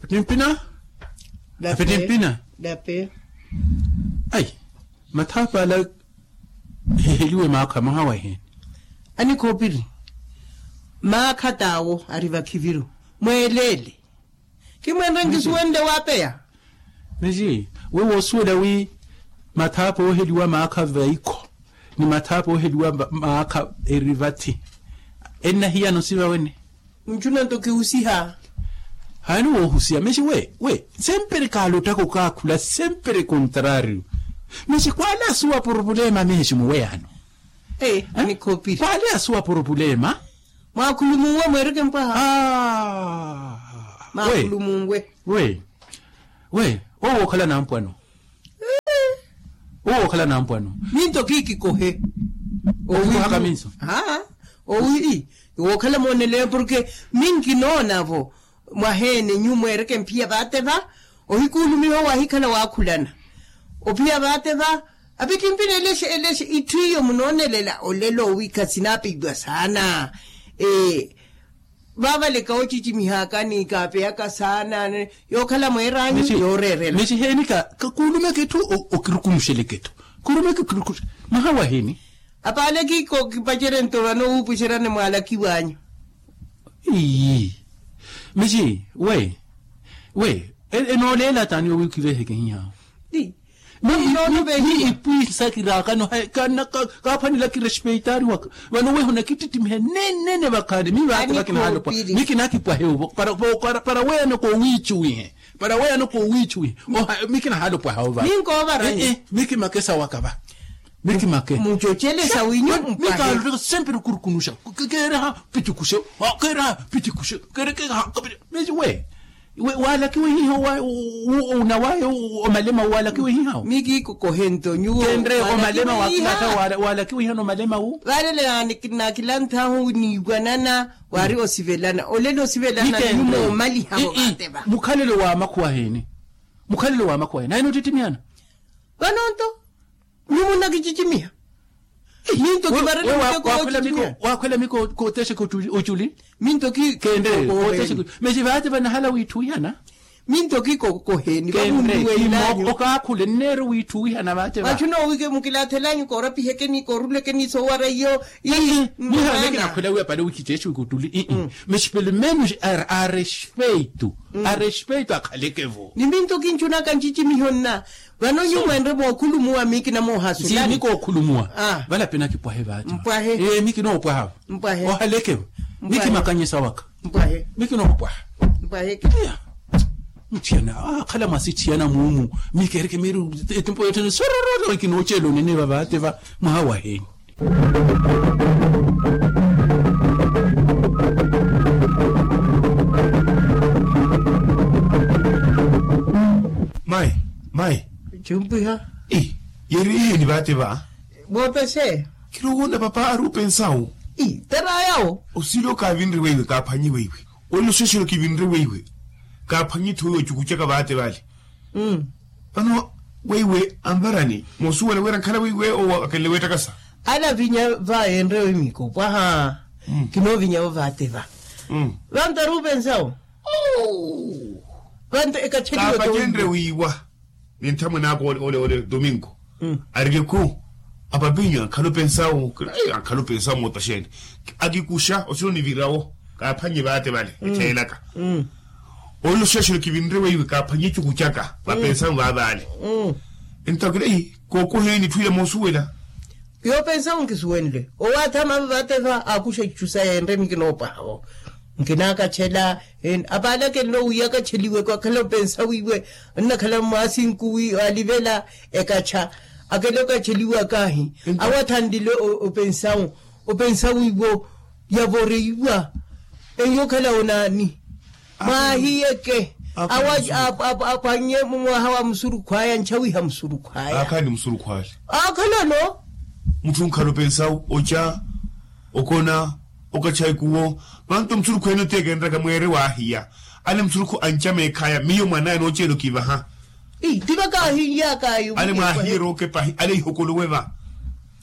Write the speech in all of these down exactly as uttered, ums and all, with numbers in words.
Timpina. Api timpina. Ayi, mathaapa ala hiheliwe maakha mwaha wahiini? Anikhoopiri, maakha t'awo ari vakhiviru. Mweeleele. Khimweenre nkisuwenle waapeya. Mixi, we woosuwela wi mathaapa ooheliwa maakha vaikho ni mathaapa ooheliwa maakha eri vathi ennahiyana osiva wene? Nchuna nto kihusiha. Haani woohusiha mexi we we, sempre kaalottaka okaakhula sempre contrario. Mexi kwaale asuwa purupulema mexi muweyano. Kwaale asuwa purupulema. Mwaakhulumunwe mweereke mpwaha. Mwaakhulumunwe. We we, owo wookhala nampwano. Owo wookhala nampwano. Minto kiikikohe. Okikohaka minso. Owi wookhala mooneleya porke minkinoona-vo. Mwaheene nyu mweereke mphiya vaate va. Ohikuulumiha owo ahikhala waakhulana ophiya vaate va. Apittimpina elexe elexe itthu iyo munoonelela olelo owiikha sinaapiwa saana. Vaavaleka ocicimihaka ni kaapeyaka saana. Yookhala mweeraanyu yooreerela. Mexi heeni ka kuulumeke etthu okirukunuxeleke etthu. Kuulumeke okirukunuxeleke mwaha wahiini? Apaale kiiko kipacerye nto vano wuupuxeryani mwaalakiw'anyu. Ii. Mexi we we, enooleela taani owiikha iveheke hihaawo? Ni ipwiisa kiraakano. Kaaphwanela kirespeitaari waka vano weho nakittittimihe nenene vakhaani mi vaate vakinahaalopwaha. Mi kinaakipwahe owo para weeyano koowiicuwihe. Para weeyano koowiicuwihe. Mi kinahaala opwaha owo vaate. Mi kimake sawaka va. Mi kimake. Mucocelesa winyu mpahe. Mikaalotteka sempre okurukunuxa. Keereha pitikuxe. Keereha pitikuxe. Keerekeha kapita. Mexi we waalakiwe hiha? Onawaye omalema wu waalakiwe hiha? Mikiikokohento nyuwo kenre omalema wakilatta. Waalakiwe hiha nomalema wu? Vaalele naakilanthahu niiwanana waari osivelana olelo osivelana nyumo omaliha vo vaate va. Mukhalelo wa makhuwa heeni? Mukhalelo wa makhuwa heeni ayi noottittimiana? Vanonto nyuwo nnakicicimiha. Minto kivarelemuteko wookhwela miko kootexa koculi. Minto ki keenre kootexa. Mexi vaate vanahala wiitthuwihana. Minto kikokoheni vamunnuwellanyu okaakhule nneero wiitthuwihana vaate va. Vachu noowike mukilaathel'anyu koorapihekeni koorulekeni soowara iyo. Mihaana kinakhwela wi apale wikitteexe wikutuli. Mexi pelo menus a respeito. A respeito akhaleke vo ni minto kinchunaka ncicimiho nna. Vano nyu mwenre mookhulumuwa miikina moohasulani. Miikookhulumuwa. Vala pena kipwahe vaati mpwahe. Ee miikinoopwaha. Mpwahe ohaleke. Miikimakanyesa waka. Mpwahe miikinoopwaha. Mpwahe. Mutthiyana akhala mwasitthiyana muumu. Miikeereke miiri etimpo yothene sorororo ikinoocela onene vavaate va mwaha waheeni. Mayi mayi. Chumpwiha. Yeri ihiyo ni vaate va. Voopese. Kirowoona papa ari opensawu. Tarayawo. Osilo kaavinre weiwe kaaphwanyi weiwe. Olelo sooxelo kivinre weiwe kaaphwanyi itthu weiwe ocukucaka vaate vale. Vano weiwe anvarani moosuwela wira ankhala weiwe owo akenle weettakasa. Ala avinya va eenre wimiko pwaha. Kinoovinyavo vaate va. Vanto ari opensawo. Vanto ekacheliwe kaapacenre wiiwa. Ni nthamwene aka ole ole domingo arikekhu apapinyu ankhala opensawo. Ankhala opensawo mootaxene akikuxa osino nivirawo. Kaaphwanye vaate vale echeelaka. Olelo xeexelo kivinre weiwe kaaphwanye ecuku caka vapensawo vaavaale. Ento akila kookoheni itthu ila moosuwela. Yoopensawo nkisuwenle owaathamavo vaate va aakuxa itthu sa yeenre mikinoopaha vo. Nkinaakachela. Apaale akenle owiya akacheliweke akhala opensawiwe. Nnakhala mwaasinku wi alivela ekacha akele okacheliwa akaahi. Awo athanlile opensawu opensawiwo yavoreiwa. Eyo okhala onaani? Mwahiyeke awo apwannye mumwaha wa musurukhwaya nchawiha musurukhwaya. Akhala ni musurukhwale. Akhalano. Mutthu onkhala opensawu oca okona okacha ikuwo. Vanto musurukhu ene oteekenraka mweere waahiya. Ale musurukhu anca meekhaya miyo mwanaya nooceela okivaha. Ti vakaahilyaka ayo ale mwaahiyeera okepahi ale ihokolowe va.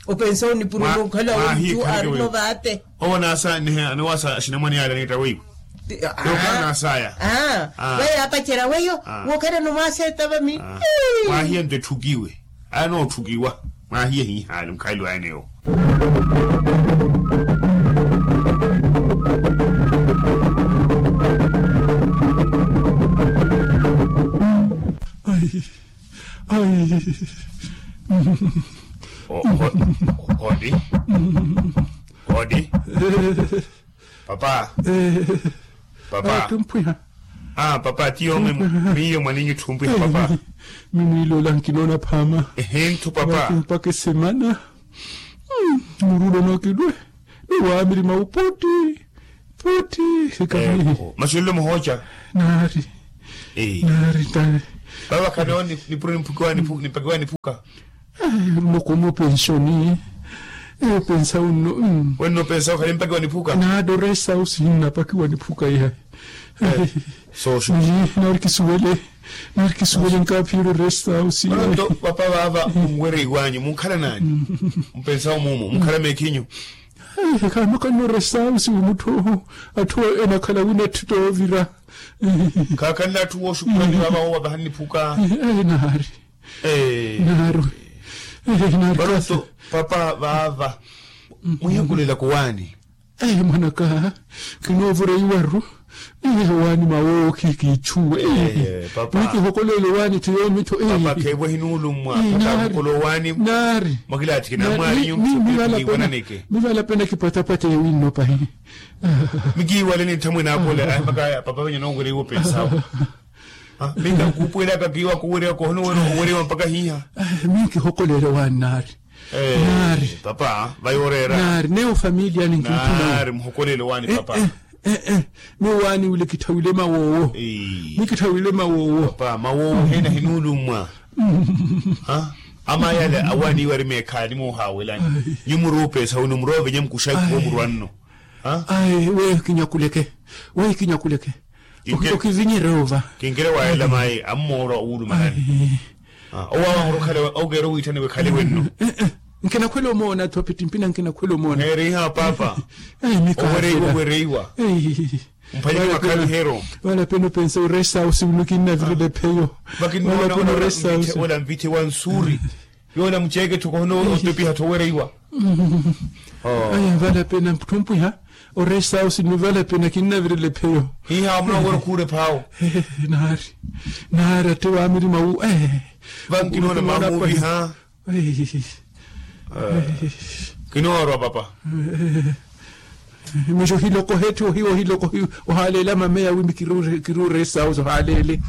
Opensa onipurela okhala ontu arino vaate. Owo anaasa nihe anowaasa axinamwane ale aniitta weiwe. Yookaana asaya. Weyo apacerya weyo. Wookhalano mwaaseeta vami. Mwaahiye nto etthukiwe. Aya nootthukiwa. Mwaahiye hihaali mukhaali waene-wo. Ai. Ai. Hodi. Hodi. Papa. Papa. Tumpwiha. Papa tiyo. Miyo mwaninyu tumpwiha papa. Mimwiilola nkinoona phaama. Ehe nthu papa. Mpaka esemana. Murulo nookilwe. Ni waamirima upoti. Poti. Sikamihi. Masi olilo muhooca. Naari. Naari tawe. Papa khano nipuro nimpakiwa niphuka. Noko mupenshoni. Epensa unno. Wenno pensa ukhale mpaki wa niphuka. Naado resta usi nnapakiwa niphuka iha. Soosho. Narikisuwele. Narikisuwele nkaaphiyelo resta usi. Papa vaava munwereiwanyu munkhala naani? Mpensa umumu munkhala meekhinyu. Khaano kanno resta usi wi mutthu atthu enakhala wina etthu toovira. Khaakhanle atthu wooxukhulani vaava woowa vahani niphuka. Naari. Naari. Papa vaava mwihakulelaka owaani. Mwanaka. Kinoovoreiwaru. Owaani mawoowo khikiichuwe. Nikihokoleela owaani tiyoomi tho. Papa kheevo hinuulummwa. Papa mukola owaani. Naari. Mwakilaatthiki namwaari nyumphu. Mivala pena kipatapata yawinno pahi. Mikiiwale ni nthamwene akola ahimakaya papa venye noowereiwa opensawo. Minka nkuupuwelaka kiiwa kuwerewa kohono wene owerewa mpaka hiiha. Minkihokoleele waani naari. Naari. Papa vayooreera. Naari neyo familiyani nkinkhuna. Naari muhokoleele waani papa. Miyo waani wile kitthawile mawoowo. Miyo kitthawile mawoowo. Papa mawoowo heena hinuulummwa. Ama yale awaani iwari meekhaani moohaawelani. Nyu muruupeesa wino muroovenya mukuxa ikuvo murwanno. Ayi weyo kinyakuleke. Weyo kinyakuleke. Okivinyerya ova. Kinkire waayela mayi ammoorwa owulumanani. Owawa ahorokhala okeera owiitthaniwe khale wenno. Nkinakhwela omoona tho pittimpina nkinakhwela omoona. Neeriha papa. Owereiwa owereiwa. Mphanyeke makhalihero. Vala pena opensa oresta usi wino kinnavirela epheyo. Vakinnoona ola mvitthe wa nsuuri. Yoola muceeke tho kohono otopiha tho owereiwa. Aya vala pena nthumpwiha. Oresta usi ni vala pena kinnavirela epheyo. Hiiha munoowerya okhuura ephaawo. Naari. Naari atte waamirima wu. Vankinoona maamuuviha. Kinoorwa papa. Miso hilokohe tthi ohiwa ohilokohe. Ohaaleela mameya wimi kiri oresta usi ohaaleele.